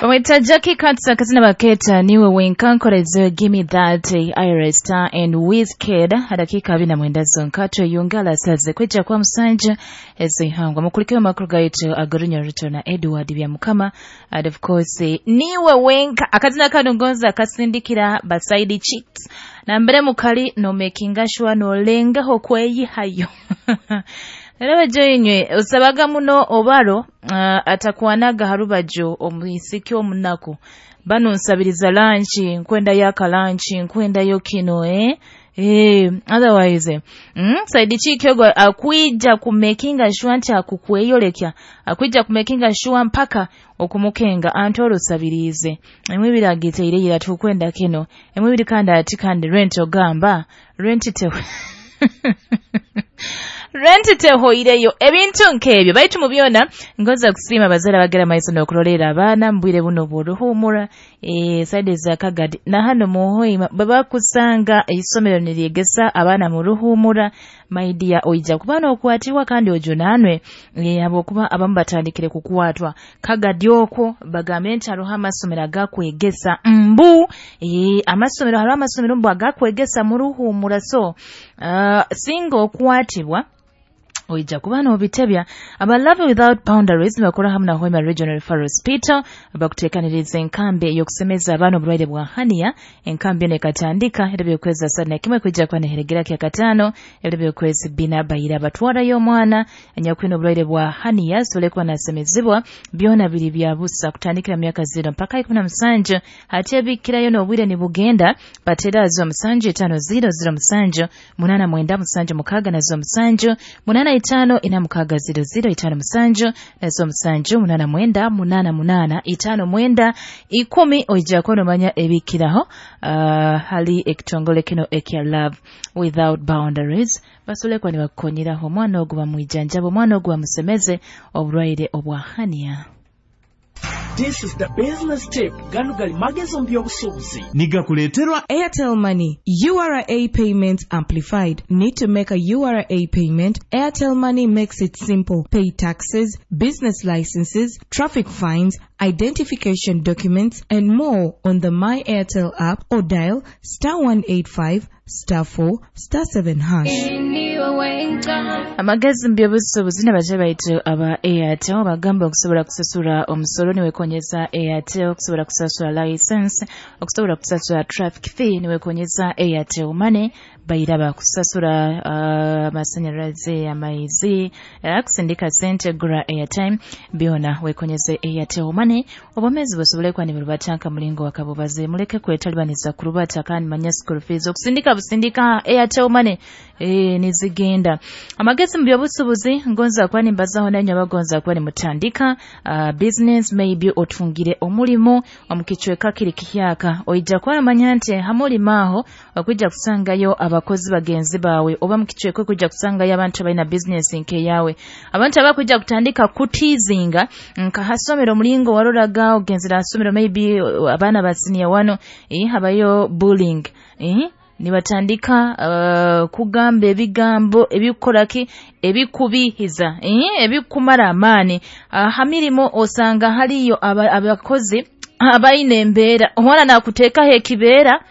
Bamwita Jackie Katsa akazina baketa niwe wenkankorezo Gimme That, Iris Star and Wizkid. Dakika 29 zonka tweyungala saze kwijja kwa musanja ezihangwa mukulikeo makuru gaitu agorunya ruto na Edward Byamukama. And of course niwe wenka akazina kano ngonza akasindikira basaidi chicks na mbere mukali no making sure no lengaho kweyihayo. Era joinywe osabaga muno obaro atakwanaga harubajo omwisiki omunaku bano nsabiriza lanchi nkwenda yaka lanchi nkwenda yo kino otherwise saidi chiki ogwo akwija kumakinga sure nti akukweyolekya akwija kumakinga sure mpaka okumukenga antoro sabirize emwe biragiteire ira tukwenda kino emwe biri kandi ati kandi rent ogamba rent te renti tehoireyo ebintu nkebyo baitu mu byona ngoza kusiima abazara bagera maiso n'okurolera abaana mbwire buno bw'oruhumura saidi za Kagadi na hano muhoima baba kusanga isomero niryegesa abaana mu ruhumura maidia oija kuba n'okwatibwa kandi ojunanwe habwokuba abamu batandikire kukwatwa Kagadi okwo bagambe nti hariho amasomero agakwegesa mbu amasomero hariho amasomero mbu agakwegesa mu ruhumura so singa okwatibwa oija kuba n'obitebya. Aba Love Without Boundaries bakora hamwe na Hoima Regional Referral Hospital bakuteekaniriza enkambi ey'okusemeza abaana obulwaire bwa hania. Enkambi eno ekatandika ebiro by'okwezi 31 kwijja kuba neheregera kya 5 ebiro by'okwezi 4 bayira batwarayo omwana anyakwine obulwaire bwa hania asobole kuba nasemezibwa. Byona biri bya busa kutandikira myaka 0 mpaka 17 hati ebikirayo n'obwire nibugenda batera zo 7 5 0 0 7 8 9 7 6 na zo 7 8 5 4 6 0 0 5 7 nazo 7 8 9 8 8 5 9 10 oija kunomanya ebikiraho hali ekitongole kino ekya Love Without Boundaries basole kwa nibakukonyeraho omwana ogwo bamwijanjaba omwana ogwo bamusemeze obulwaire obwa hania. This is the business tip. Gano gali magezo mu by'obusuubuzi. Nigakuleeterwa Airtel Money. URA payments amplified. Need to make a URA payment? Airtel Money makes it simple. Pay taxes, business licenses, traffic fines, identification documents, and more on the My Airtel app or dial *185 *4 *7#. Amagezi mu by'obusuubuzi n'abaje baitu aba Airtel bagamba okusobola kusasula omusolo niwekonyeza Airtel, okusobola kusasula license, okusobola kusasula traffic fee niwekonyeza Airtel Money, bairaba kusasula amasanyalaze, amaizi, kusindika sente, gura airtime, byona wekonyeze Airtel Money. Obomezi busobole kuba niburubatanka mulingo wakabubaze muleke kwetalibaniza kurubata kandi manya school fees okusindika busindika Airtel Money nizigenda. Amagezi mu by'obusuubuzi ngonza kuba nimbazaho nanyu abagonza kuba nimutandika business, maybe otungire omulimo omukichweka kiri kihyaka oija kuba manya nti hamulimo aho okwijja kusangayo abakozi bagenzi bawe oba mukichweka kujja kusangayo abantu abalina business nke yawe abantu abakujja kutandika kutizinga nka hasomero mulingo waroraga ogenzera hasomero maybe abaana ba senior wano habayo bullying nibatandika kugamba ebigambo ebikoraki ebikubihiza ebikumara amaani. Hamirimo osanga haliyo abakozi abaine embeera omwana nakuteekaho ekibeera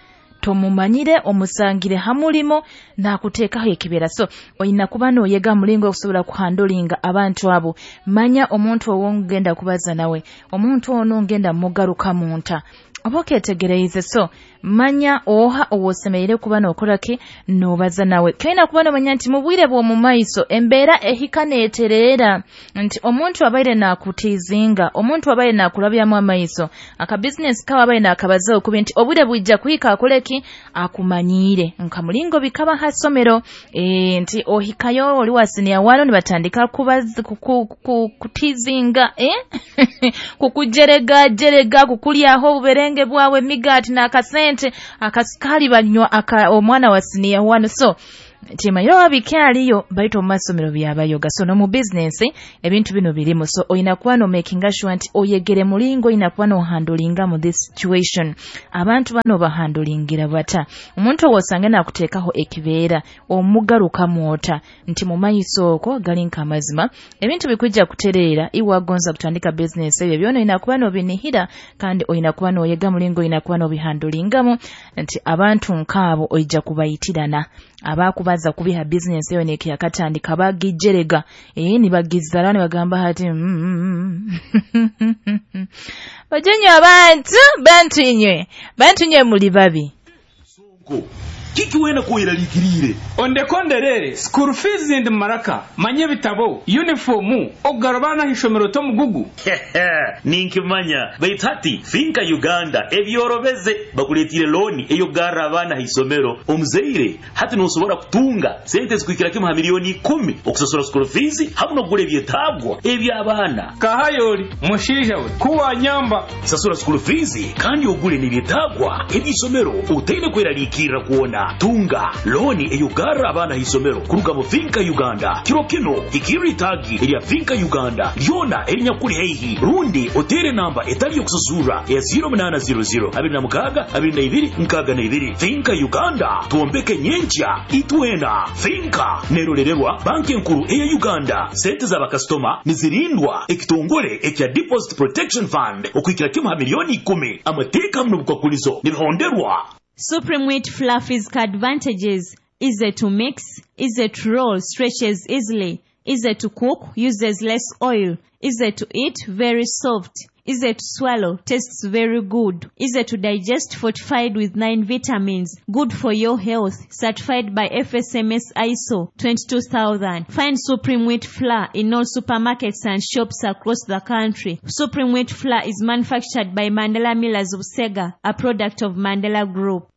tomumanyire omusangire hamulimo nakuteekaho ekibeera. So oyina kuba noyega mulingo okusobola kuhandolinga abantu abo. Manya omuntu owongenda kubaza nawe, omuntu ono ngenda mugaruka munta oba oketegereize. So manya oha owosemereire kuba nokoraki nobaza nawe. Kyolina kuba nomanya nti mu bwire bw'omu maiso embeera ehika neetereera nti omuntu abaire nakutizinga, omuntu abaire nakulabyamu amaiso, akabizinesi kawe abaire nakabaza okubi nti obwire bwijja kuhika akoleki akumanyiire nka mulingo bikaba hasomero nti ohikayo oli wa senior wano nibatandika kutizinga kukujerega jerega kukulyaho obuberenge bwawe emigaati n'akasente akasukali banywa omwana wa senior wano. So Timanyire oba bikyaliyo, baitu omu masomero byabayoga. So n'omu bizinesi ebintu bino birimu. So oyina kuba nomakinga sure nti oyegere mulingo oyina kuba nohandulingamu this situation. Abantu bano bahandulingira bata? Omuntu owosange nakuteekaho ekibeera, omugarukamu ota? Nti mumaiso okwo gali nk'amazima, ebintu bikwija kutereera. Iwe wagonza kutandika bizinesi, ebyo byona oyina kuba nobinihira, kandi oyina kuba noyega mulingo oyina kuba nobihandulingamu, nti abantu nkaabo oija kubaitirana. Abakubaza kubiha bizinesi eyo nekiyakatandika bagijerega, nibagizara nibagamba hati bajenye abantu, bantu inywe muli babi. Sonko, kiki wena kuiralikirire? Ondekonderere school fees ndi maraka, manye bitabo, uniformu, ogarabana hishomero tomugugu. Ninkimanya, baitu hati Finka Uganda ebyorobeze bakuletire loan eyogarra abana hisomero. Omuzeire hati nosobora kutunga sente zikuikira kimu ha milioni 10 okusasura school fees hamwe nokugura ebyetagwa eby'abaana. Kahayoli mushinja we kuwa nyamba. Sasura school fees kandi ogule n'ebyetagwa eby'isomero utaine kweralikirira kuona. Tunga loni eyogarra abaana hisomero kuruga mu Finka Uganda. Kiro kino ikiri tagi erya Finka Uganda lyona erinyakuli heihi, rundi otere namba etali yokusasura ya 0800 26 22 62. Finka Uganda, tuombeke nyencha itwena. Finka nerolererwa banki enkuru eya Uganda. Sente za bakasitoma nizirindwa ekitongole ekya Deposit Protection Fund okuikira kimu ha milioni 10. Amateeka muno bukwakulizo nibihonderwa. Supreme Wheat Fluff advantages: easy to mix, easy to roll, stretches easily, easy to cook, uses less oil, easy to eat, very soft, easy to swallow, tastes very good, easy to digest, fortified with 9 vitamins, good for your health, certified by FSMS ISO 22000. Find Supreme Wheat Flour in all supermarkets and shops across the country. Supreme Wheat Flour is manufactured by Mandela Millers of Sega, a product of Mandela Group.